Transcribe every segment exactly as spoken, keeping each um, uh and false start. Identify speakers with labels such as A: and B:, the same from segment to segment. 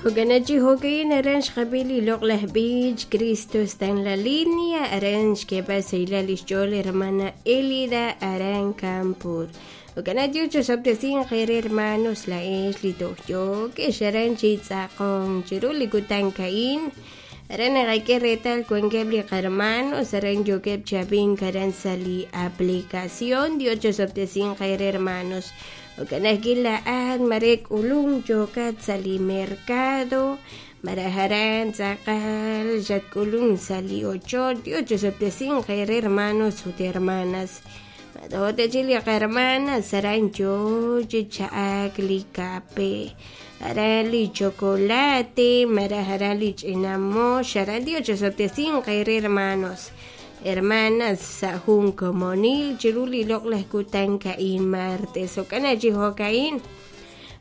A: Jo'kan chi jo'ka'in aran xqab'i li loq'laj b'ich Cristo está en la línea aran xk'eeb'al sahilal lix ch'ool hermana Elida aran Kanpur. Jo'kan Dios chosob'tesinq eere hermanos laa'ex li toj yookex aran chi tz'aqonk chiru li kutan ka'in aran naqak'e reetal wankeb' li qarmanos aran yookeb' chi ab'ink aran sa' li aplicación. Dios chosob'tesinq eere hermanos. Jo'kan ajwi' laa'at mare k'ulunk yookat sa' li mercado malaj aran tz'aqal xatk'ulunk sa' li ochoch. Dios chosob'tesinq eere hermanos ut hermanas. To'techi li qarmanas aran yoo chi cha'ak li kape aran li chocolate malaj aran li ch'ina mox aran. Dios chosob'tesinq eere hermanos hermanas sa' jun komonil chiru li loq'laj kutan ka'in martes. Jo'kan chi jo'ka'in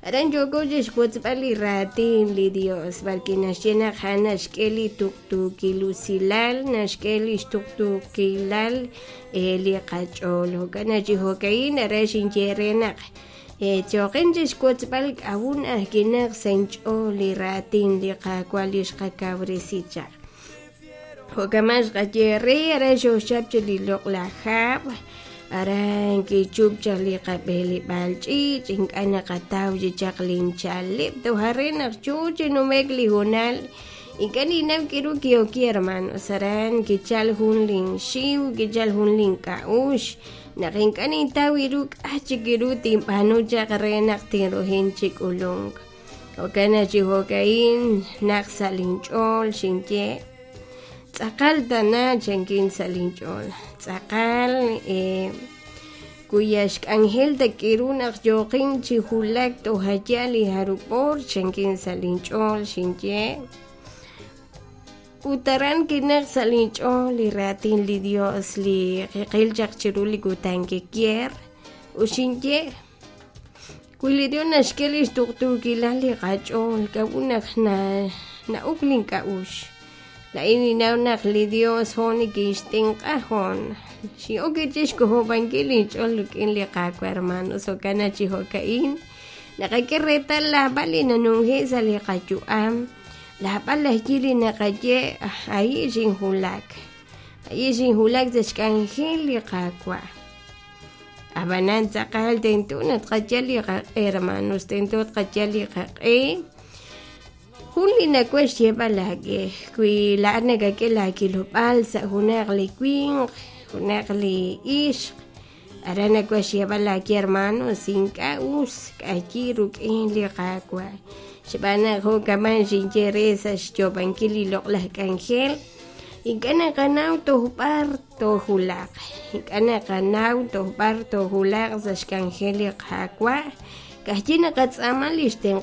A: aran yooko chixwotzb'al li raatin li Dios b'arwi' naxye naq a'an naxk'e li tuqtuukil usilal naxk'e li xtuqtuukilal li qach'ool. Jo'kan chi jo'ka'in aran xinye re naq choqin chixwotzb'al k'a'un ajkinaq sa' inch'ool li raatin li Qaawa' li xqakawresi chaq. Jo'kan xqaye re aran xooxchap chi li loq'laj hab' aran kichup chaq li qab'eeleb'aal ch'iich' ink'a' naqataw chi chaq lincha'aleb' toj are naq yoo chi numek li hoonal ink'a' ninnaw k'iru ki'oki hermanos aran kichal jun linxiw kichal jun link'a'uxl naq ink'a' nintaw iru k'a' chik iru tinb'aanu chaq re naq tinrujin chi k'ulunk. Jo'kan chi jo'ka'in naq sa' linch'ool xinye tz'aqal tana chankin sa' linch'ool tz'aqal eh, kuya xk'anjel tak'iru naq yooqin chi wulak tojaya li jarub'or chankin sa' linch'ool xinye ut aran kinaq sa' linch'ool li raatin li Dios li qiqil chaq chiru li kutan kikier ut xinye wi li Dios naxk'e li xtuqtuukilal li qach'ool k'a'ut naq na na'uk link'a'uxl laa'in ninnaw naq li Dios hoon nikinxtenq'a hoon xin'ok chixk'ojob'ankil linch'ool rik'in li Qaawa' hermanos. Jo'kan chi jo'ka'in naqak'e reetal laab'al li nanunje' sa' li qayu'am laab'al ajwi' li naqaye ahi' xinwulak ahi' xinwulak sa' xk'anjel li Qaawa' ab'anan tz'aqal tento naq tqayal li qaq'e hermanos tento tqayal li qaq'e. Jun li nawaj xyeeb'al laak'e wi laa'at nakak'e laakilob'aal sa' junaq li winq junaq li ixq aran nawaj xyeeb'al laak'e hermanos ink'a' us k'ayi rik'in li Qaawa' xb'aan naq jo'kaman xinye re sa' xyoob'ankil li loq'laj k'anjel ink'a' naqanaw toj b'ar toojulaq ink'a' naqanaw toj b'ar toojulaq sa' xk'anjel li Qaawa' ka'ajwi' naqatz'aama li xtenq'ankil.